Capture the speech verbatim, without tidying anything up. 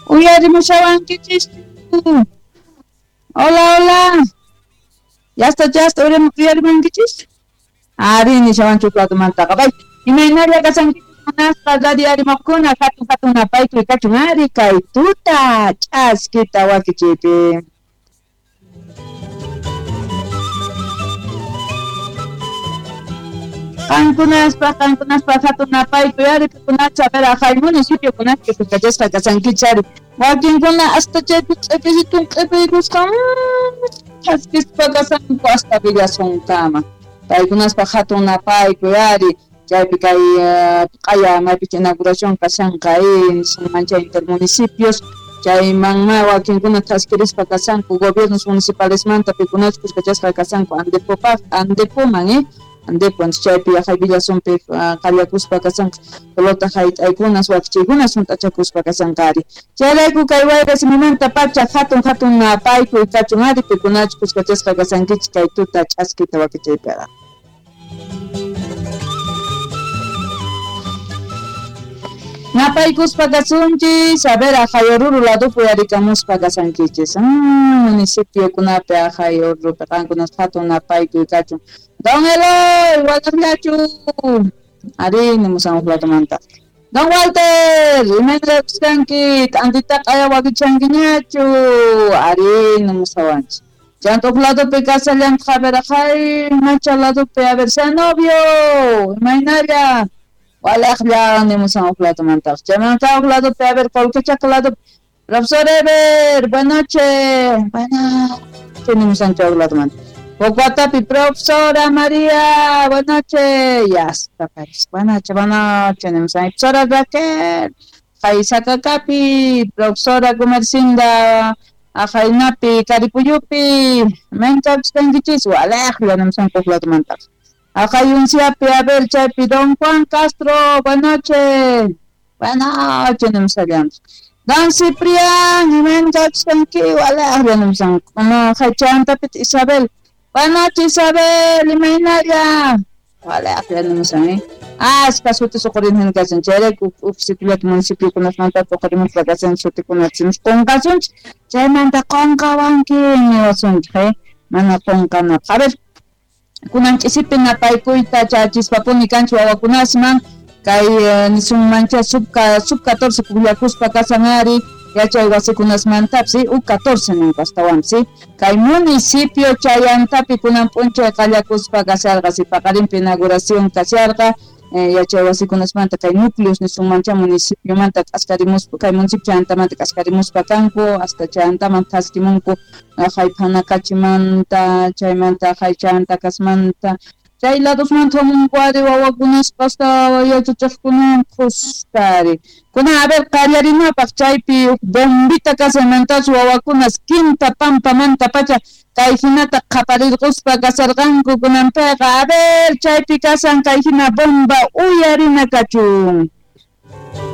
Uyarimushawankichis. Hola, hola. Ya está, ya está, uyarimankichis. Ari nishawanchu platomantaqa. Bay, imaynalla kasankichis munasqa radio arimaqkuna hatun hatun napaykuy kachun ari kay tuta ch'askita wakichiypi. Qankunaspa, qankunaspa hatun napaykuy ari pikunacha a ver ajay municipiokunapi kuskachasqa kasankichis ari. Wakinkuna hasta chaypi q'ipillitum q'ipiykusqa chaskispa kasanku hasta Villasunkama. Paykunaspa hatun napaykuy ari chaypi kay q'aya maypicha inauguración kashanqa nisunman chay intermunicipios chaymanma wakinkuna thaskirispa kasanku gobiernos municipalesmanta pikunachus kuskachasqa kasanku Andepopaq Andepoman eh Andepo chaypi yaqay Villasunpi qallakuspa kasanqa pelota hayt'aykunas wakichiykunas hunt'achakuspa kasanqa ari. Chayrayku kay wayra simimanta pacha hatun hatun napaykuy kachun ari pikunachus kuskachasqa kasankichis kay tuta ch'askita wakichiypiqa. Napaykuspa kasunchis, a ver, ajay Oruro ladopi uyarikamuspa kasankichis. Municipiokunapi ajay Orurupi qankunas hatun napaykuy kachun. Don Eloy, walaqllachu. Ari nimusan huk ladomanta. Don Walter, imayna kuskanki, t'antita q'aya wakichankiñachu. Ari nimusawanchis. Chanta huk ladopi kasallantaq, a ver, ajay Macha ladopi, a ver, Zenobio, imaynalla. Walaqlla nimusan huk ladomantaq. Chaymanta huk ladopi, a ver, Colquechaca ladopi. Profesor Ever, buenas noches. Buenas noches, nimusan chay huk ladomanta. Pocuatapi, profesora María, buenas noches. Ya está, pues. Buenas noches, buenas noches. Nimusan. Profesora Raquel, Jaisaccacapi, profesora Gumercinda, Ajainapi, Caripuyupi, Mencaxtanquichis, walaqlla nimusan huk ladomantaq. Ajayunciapi, a ver, chaypi, Don Juan Castro, buenas noches. Buenas noches, nimusallantaq. Don Ciprián, imaynatachkanki, walaqlla nimusan. No, jaychantapita Isabel. Buenas noches, Isabel, imaynalla. Walaqlla nimusan, eh. Ashka sutis uqhurin kasan, chayrayku huk sitiollata municipiokunasmanta uqhurimuspa kasan sutikunata simus qunqasunchik, chaymanta qunqawanki niwasunchik, eh. Mana qunqanapaq. A ver, kunan ch'isipi napaykuyta chachispapuni kanchik wawakunasman kay nisunmancha sub sub catorce pukllakuspa kasan ari yachay wasikunasmantapis U catorce ninku astawanpis kay municipio chayantapi kunan p'unchay qallakuspa kasharqa si paqarinpi inauguración kasharqa yachay wasikunasmanta kay núcleos nisunmancha municipiomanta k'askarimuspa kay municipio chayantamanta k'askarimuspa kanku hasta chayantaman thaskimunku jay Phanacachimanta chaymanta jay Chayantacasmanta chay ladosmanta hamunku ari wawakunaspa hasta yachachaqkunawan khuska ari. Kunan a ver qallarinapaq chaypi huk bombita kasaymantachu wawakunas quinta pampamanta pacha kay hinata qhaparirquspa kasarqanku kunanpiqa a ver chaypi kasan kay hina bomba uyarina kachun.